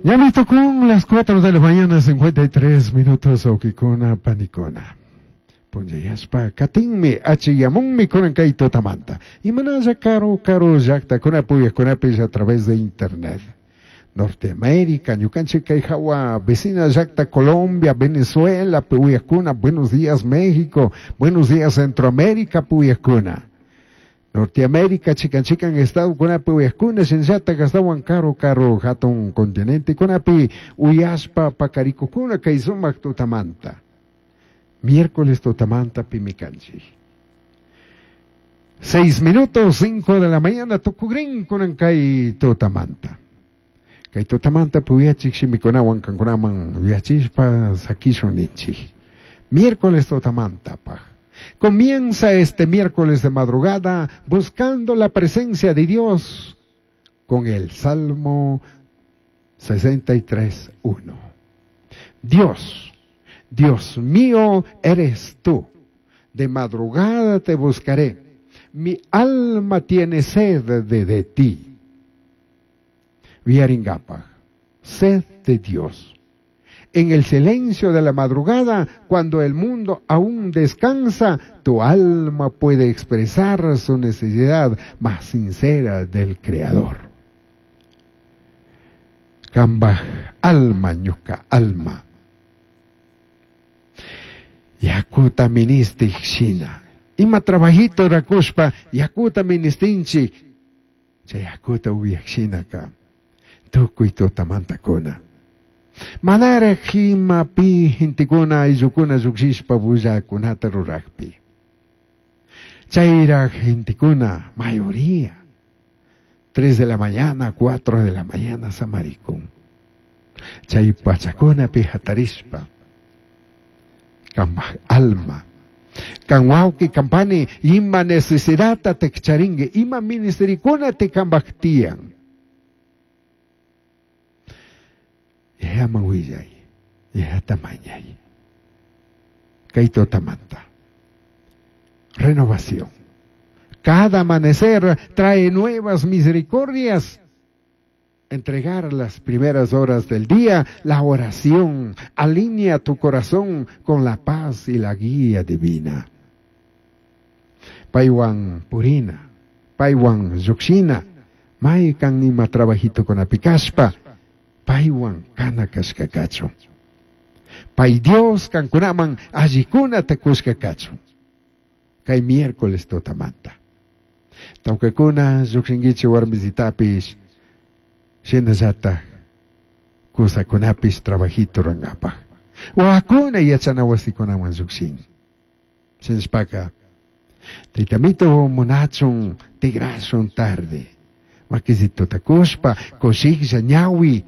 Ñami tukun las 4 de la mañana, 53 minutos, huauquicuna, panicuna. Punllayashpa katinmi, achiyamunmi kunan kay tutamanta. Imanalla karu karu llaktakunapi uyajkunapish a través de internet. Norteamérica, ñukanchik kay hawa vecina llakta Colombia, Venezuela, uyajkuna, buenos días México, buenos días Centroamérica, uyajkuna. Norteamérica, chikan chikan estadokunapi uyajkuna, shinallatak ashtawan karu karu hatun continentekunapi uyashpa pakarikukuna kay sumak tutamanta. Miércoles tutamanta pimi kanchik. 6 minutos, 5 de la mañana, tukugrin kunan kay tutamanta. Kay tutamanta puyachik shimikunawan kankunaman uyachishpa sakishun ninchik. Miércoles tutamanta paj. Comienza este miércoles de madrugada buscando la presencia de Dios con el Salmo 63:1. Dios, Dios mío eres tú. De madrugada te buscaré. Mi alma tiene sed de ti. Viaringapa, sed de Dios. En el silencio de la madrugada, cuando el mundo aún descansa, tu alma puede expresar su necesidad más sincera del Creador. Kamba alma ñuka alma. Yakuta ministik shina. Ima trabajito rakushpa yakuta ministinchik. Chay yakuta uyak shinaka. Tukuy tutamantakuna. Manaraj imapi gentekuna ayllukuna llukshishpa bullakunata rurakpi. Chayraj gentekuna, mayoría, 3 de la mañana, 4 de la mañana samarikun. Chay pachakunapi hatarishpa. Kambaj alma. Kan wawqi kan pani ima necesidadta tekcharinki, ima ministerikuna te kambaj tiyan. Yayaman willay, yayata mañay. Kay tutamanta. Renovación. Cada amanecer trae nuevas misericordias. Entregar las primeras horas del día, la oración, alinea tu corazón con la paz y la guía divina. Paywan purina, paywan llukshina, maykan ima trabajito kunapikashpa, paywan kana kashka kachun. Pay Dios kankunaman allikunata kushka kachun. Kay miércoles tutamanta. Tawkakuna llukshinkichik warmisitapish, shinallatak kusakunapish trabajito rurankapak. Wawakuna yachana wasikunaman llukshin. Shinashpaka, taytamito munachun tigrashun tarde. Makisituta kushpa, kushiklla ñawi,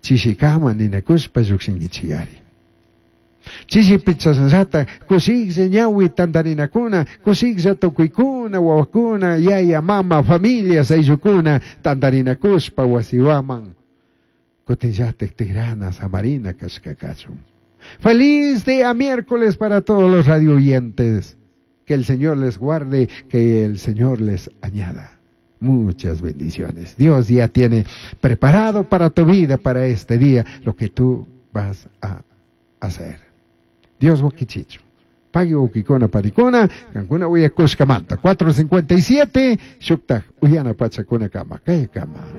chishikama ninakushpa llukshinkichikari. Chishipi chashnallata kushiklla ñawi tantarinakuna, kushiklla tukuykuna, wawakuna, yaya, mama, familias, ayllukuna, tantarinakushpa wasiwaman. Kutinllatak tigrana, samarina kashka kachun. Feliz día miércoles para todos los radio oyentes. Que el Señor les guarde, que el Señor les añada muchas bendiciones. Dios ya tiene preparado para tu vida, para este día, lo que tú vas a hacer. Dios wakichichu. Pagui wawkikuna panikuna, kankuna uyakushkamanta. 4:57, shuktaj uyana pachakuna kama, kay kama.